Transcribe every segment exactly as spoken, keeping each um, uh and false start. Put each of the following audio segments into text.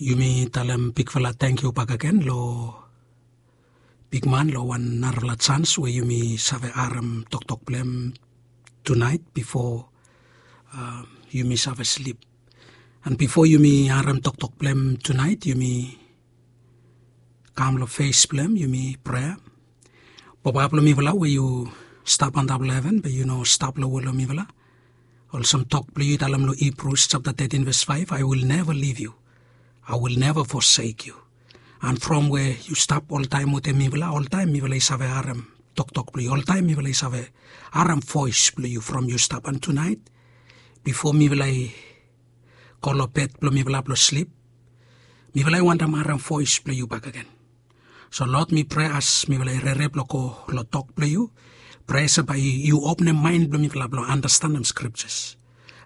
Yumi talem bigfala tangkiu bakegen long bigman long wan narafala jans we yumi save harem toktok blong hem tunaet bifo yumi save slip. An bifo yumi harem toktok blong hem tunaet yumi kam long fes blong hem yumi prea. Papa blong mifala we yu stap antap long heven be yu no stap long we long mifala. Olsem tok blong yu i talem long Hibrus japta tetin ves faef, I will never leave you, I will never forsake you. An from we yu stap oltaem wetem mifala, oltaem mifala i save harem toktok blong yu, oltaem mifala i save harem voes blong yu from yu stap. An tunaet bifo mifala i go long bed blong mifala blong slip, mifala i wantem harem voes blong yu bakegen. So Lord, mi prea as mifala i rere blong go long tok blong yu, prea se bae yu openem maen blong mifala blong andastanem skriptas,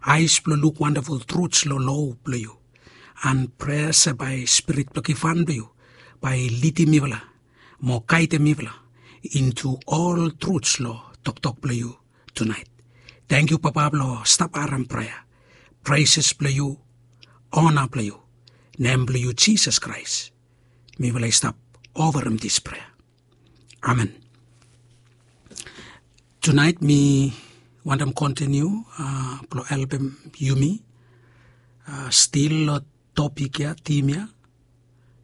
aes blong luk wandaful truts long lo blong yu. An prea se bae spirit blong givhan blong yu bae i lidim mifala mo gaedem mifala intu ol truts long toktok blong yu tunaet. Tangkiu Papa blong stap harem prea, preses blong yu, ona blong yu, nem blong yu Jisas Kraes mifala i stap ofarem dis prea. Amen. Tunaet mi wantem kontiniu blong helpem yumi stil long topik ya, tim ya,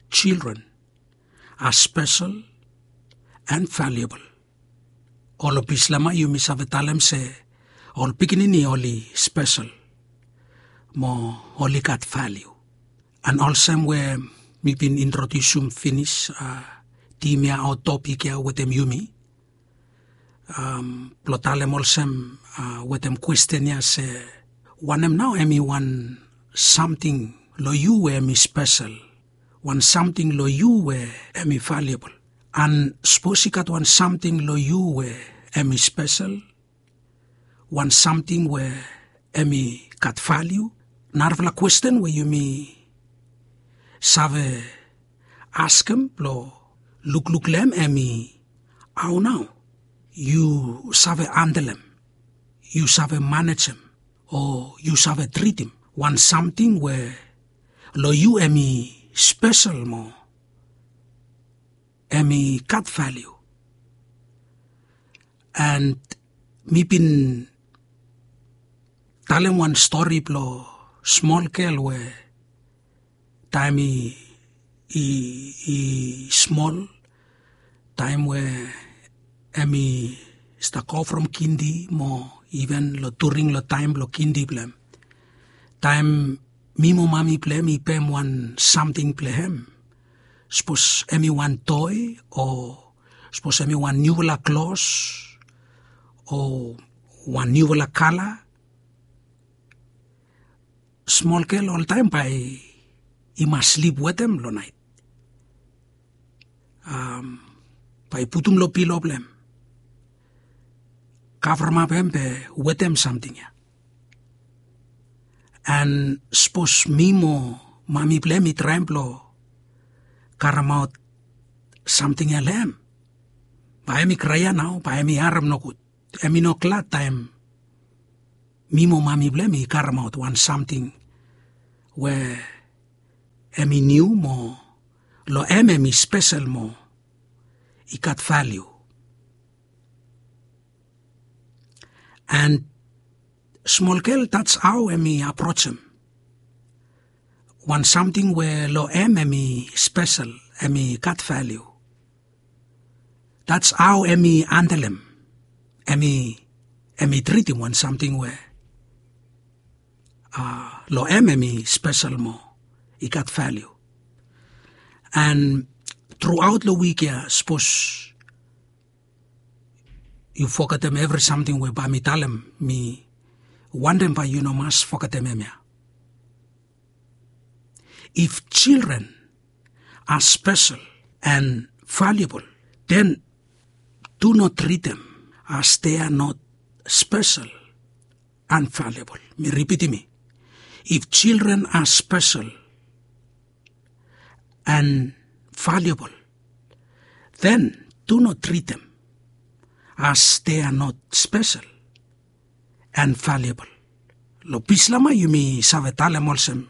children are special and valuable. Ol pislama yumi save talem se ol pikinini oli spesel mo oli gat valiu. An olsem we mi bin introdiusim finis tim ya o topik ya wetem yumi blong talem olsem wetem kwesten ya se, wanem nao hem i wan samting long yu we hem i spesel, wan samting long yu we hem i valiabol? An sapos i gat wan samting long yu we hem i spesel, wan samting we hem i gat valiu, narafala kwesten we yumi save askem blong lukluk long hem hem i, hao nao yu save handelem, yu save manejem, o yu save tritim wan samting we long yu hem i spesel mo hem i gat valiu? And mi bin talem wan stori blong smol gel we taem i i i smol, taem we hem i stap go from kindi mo iven long during long taem blong kindi blong hem, taem mi mo mami blong hem i pem wan samting blong hem, sapos hem i wan toe o sapos hem i wan niufala klos o wan niufala kala, smol gel oltaem bae i mas slip wetem long naet. Bae i putum long pilo blong hem, kavremap hem be wetem samting ya. And sapos mi mo mami blong hem i traem blong karemaot samting ya long hem, bae hem i kraea nao, bae hem i harem nogud. Hem i no glad taem mi mo mami blong hem i karemaot wan samting we hem i niu mo long hem hem i spesel mo i gat valiu. And smol gel, that's how hem i aprojem wan samting we long hem hem i spesel, hem i gat valiu. That's how hem i handelem, hem i hem i tritim wan samting we long hem hem i spesel mo i gat valiu. And truaot long wik ya, sapos yu fogetem evri samting we bae mi talem, mi wantem bae yu no mas fogetem hemia. If children are special and valuable, then do not treat them as they are not special and valuable. Mi ripitim ya. If children are special and valuable, then do not treat them as they are not special and valuable. Long Bislama yumi save talem olsem,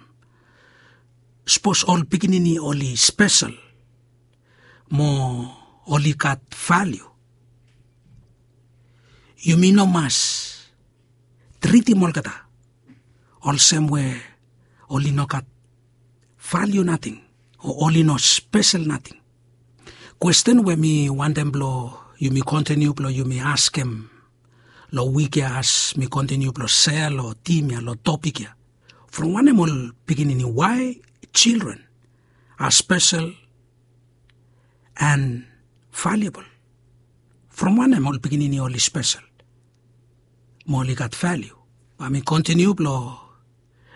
Sapos ol pikinini oli spesel mo oli gat valiu, yumi no mas tritim olgeta olsem we oli no gat valiu nating o oli no spesel nating. Kwesten we mi wantem blong yumi kontiniu blong yumi askem long wik ya as mi kontiniu blong sea long tim ya, long topik ya, from wanem ol pikinini, why children are special and valuable? From wanem ol pikinini oli spesel mo oli gat valiu? Bae mi kontiniu blong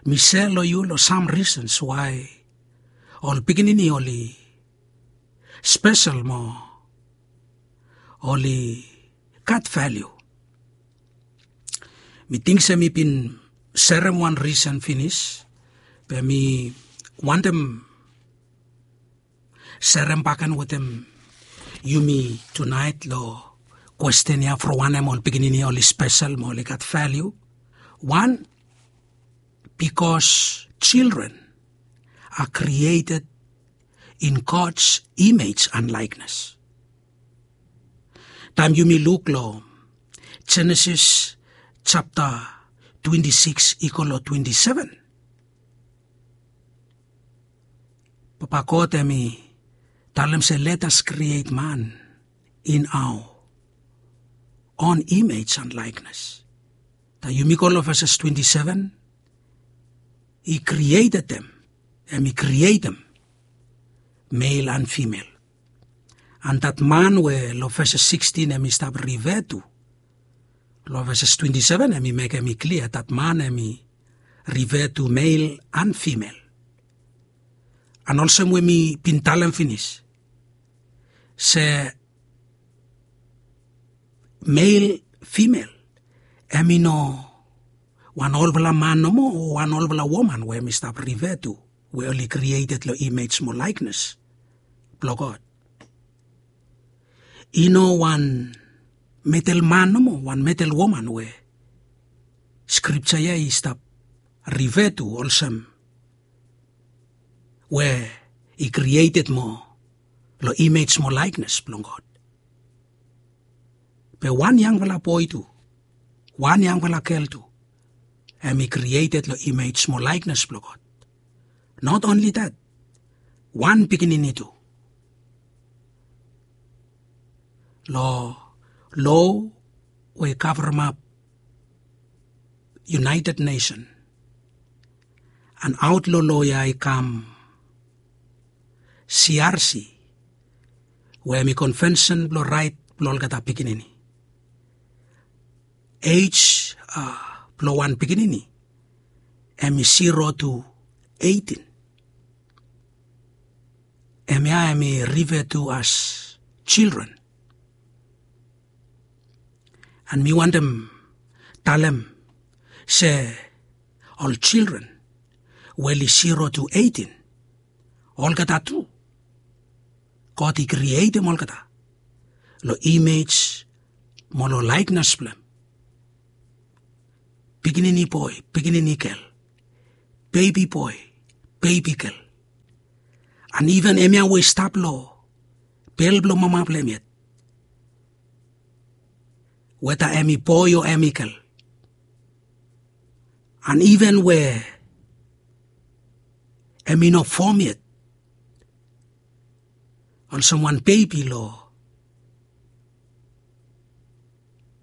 mi sea long yu long sam risens wae ol pikinini oli spesel mo oli gat valiu. Mi ting se mi bin serem wan risen finis, be mi wantem serem baken wetem yumi tunaet long kwesten ya, from wanem ol pikinini oli spesel mo oli gat valiu. Wan, because children are created in God's image and likeness. Taem yumi luk long Jenesis japta twenti sikis i go long twenti seven, Papa God hemi talem se, let us create man in our own image and likeness. Taem yumi go long veses twenti seven, he created them, hemi krietem male and female. And that man we long veses sikstin hemi stap refer to, long veses twenti seven hemi mekem i klia that man hemi refer to male and female. And olsem we mi bin talem finis se male, female, hemi no wan olfala man nomo o wan olfala woman we hemi stap refer to, we oli krieted long image mo likeness blong God. I no wan medel man nomo, wan medel woman we skripta ya i stap refer to olsem we i krieted mo long image mo likeness blong God. Be wan yangfala boe tu, wan yangfala gel tu, hemi krieted long image mo likeness blong God. Not only that, wan pikinini tu. Long lo we i kavremap United Nation, and aot long lo ya i kam C R C, we hemi konvensen blong raet blong olgeta pikinini. Ej blong wan pikinini hemi zero tu eighteen. Hemia hemi refer to as children. And mi wantem talem se ol children we oli zero tu eighteen, olgeta tu God i krietem olgeta long image mo long likeness blong hem. Pikinini boe, pikinini gel, bebi boe, bebi gel, and iven hemia we i stap long bel blong mama blong hem yet, weta hemi boe o hemi gel, and iven we hemi no fom yet, olsem wan bebi long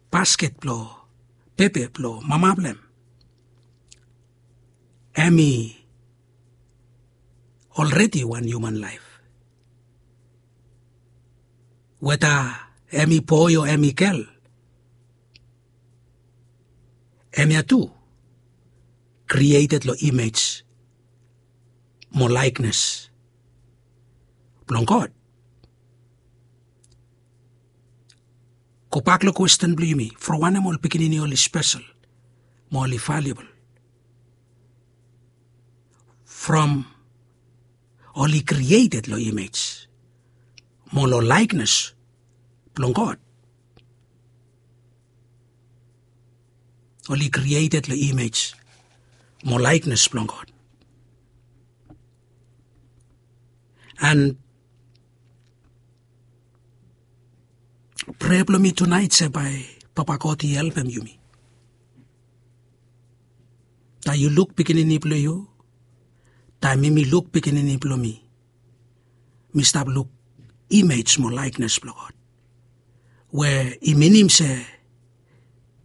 basket blong pepe blong mama blong hem, hemi olredi wan hiuman laef. Weta hemi boe o hemi gel, hemia tu krieted long image mo likeness blong God. Gobak long kwesten blong yumi, from wanem ol pikinini oli spesel mo oli valuable? From oli krieted long image mo long likeness blong God. Oli krieted long image mo likeness blong God. And prea blong mi tunaet se bae Papa God i helpem yumi. Taem yu luk pikinini blong yu, taem mi mi luk pikinini blong mi, mi stap luk imej mo laeknes blong God, we i minim se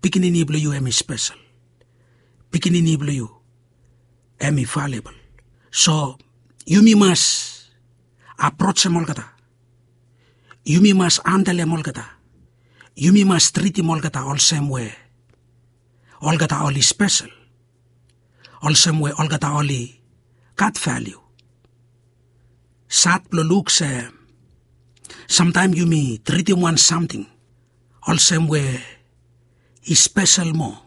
pikinini blong yu hem i spesel. Pikinini blong yu hem i valebol. So yumi mas aprojem olgeta. Yumi mas handlem olgeta. Yumi mas tritim olgeta olsem we olgeta oli spesel, olsem we olgeta oli gat valiu. Sad blong luk se samtaem yumi tritim wan samting olsem we i spesel moa,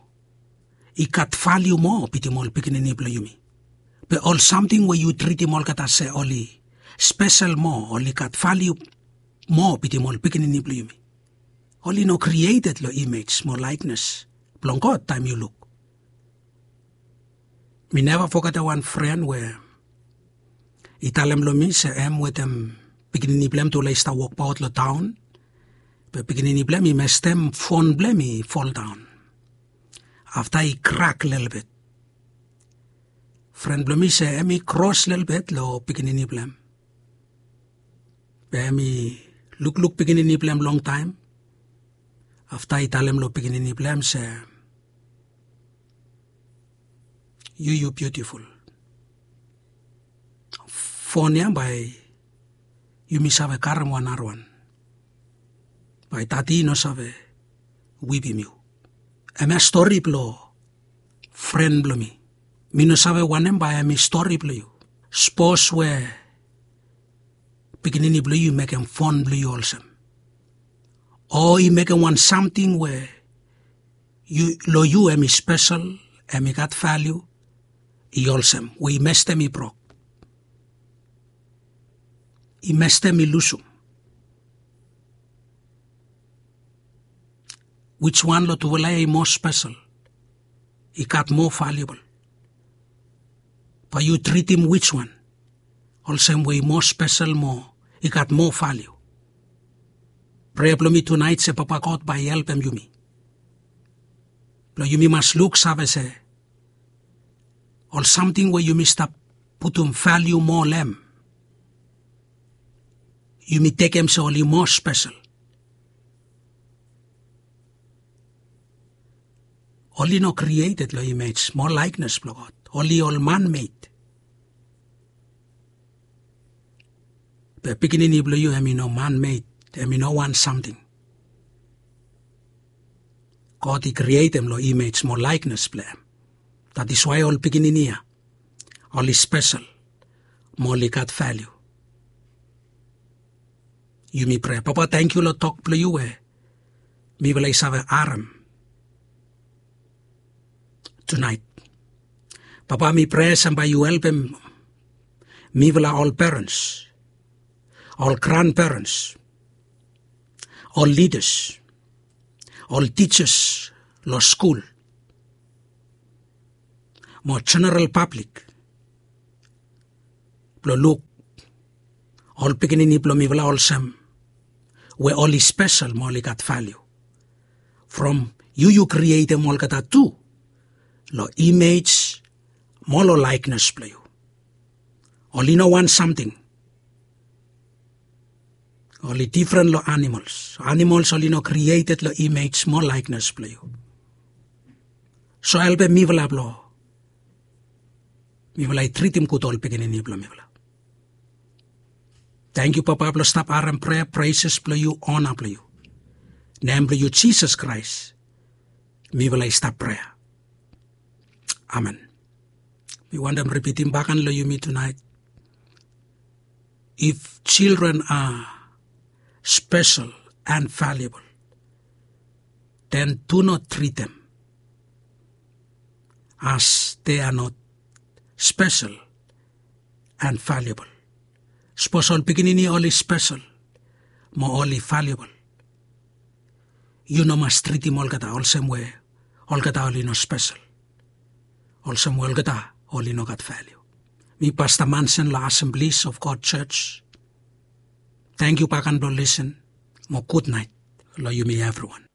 i gat valiu moa bitim ol pikinini blong yumi. Be ol samting we yu tritim olgeta se oli spesel moa, oli gat valiu moa bitim ol pikinini blong yumi, oli no krieted long imej mo laeknes blong God taem yu luk. Mi neva fogetem wan fren we i talem long mi se hem wetem pikinini blong hem tufala i stap wokbaot long taon. Be pikinini blong hem i mestem fon blong hem i foldaon. Afta i krak lelebet. Fren blong mi se hem i kros lelebet long pikinini blong hem. Be hem i lukluk pikinini blong hem longtaem. Afta i talem long pikinini blong hem se, yu yu biutiful. Fon ya bae yumi save karem wan narawan. Bae dadi i no save wipim yu. Hemia stori blong fren blong mi. Mi no save wanem bae hem i stori blong yu. Sapos we pikinini blong yu i mekem fon blong yu olsem, o i mekem wan samting we long yu hem i spesel, hem i gat valiu, i olsem we i mestem i brok, i mestem i lusum. Wijwan long tufala ya i moa spesel, i gat moa valiubol? Bae yu tritim wijwan olsem we i moa spesel mo i gat moa valiu? Prea blong mi tunaet se Papa God bae i helpem yumi blong yumi mas luksave se ol samting we yumi stap putum valiu moa long hem, yumi tekem se oli moa spesel. Oli no krieted long imej mo laeknes blong God. Oli ol manmed. Be pikinini blong yu hem i no manmed, hem i no wan samting. God i krietem long imej mo laeknes blong hem. That is why ol pikinini ya oli spesel mo oli gat valiu. Yumi prea. Papa, tangkiu long tok blong yu we mifala i save harem tunaet. Papa, mi prea se bae yu helpem mifala ol perens, ol granperens, ol lidas, ol tijas long skul mo jeneral pablik blong luk ol pikinini blong mifala olsem we oli spesel mo oli gat valiu. From yu yu krietem olgeta tu long imej mo long laeknes blong yu. Oli no wan samting. Oli difren long animols. Animols oli no krieted long imej mo laeknes blong yu. So helpem mifala blong mifala i tritim gud ol pikinini blong mifala. Tangkiu Papa blong stap harem prea, preses blong yu, ona blong yu. Nem blong yu Jisas Kraes mifala i stap prea. Amen. Mi wantem ripitim baken long yumi tunaet. If children are special and valuable, then do not treat them as they are not special and valuable. Sapos ol pikinini oli spesel mo oli valiubol, yu no mas tritim olgeta olsem we olgeta oli no spesel, olsem we olgeta oli no gat valiu. Mi Pasta Mansen long Assemblies of God Church, Tangkiu bakan blong lisen mo gudnait long yumi evriwan.